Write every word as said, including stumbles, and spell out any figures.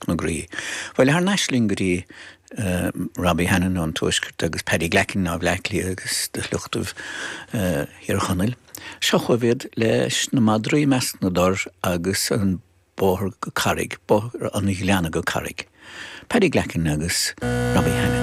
Na groí. Bhuel thar n-ais linn go dtí uh, Robbie Hannan ón Tuaisceart agus Paddy Glackin ó Bhleá Cliath agus de shliochtaibh uh, Thír Chonaill. Seo chugaibh iad leis na madraí i measc na dtor agus an bóthar go Carraig, bóthar an Ghleanna go Carraig. Paddy Glackin agus Robbie Hannan.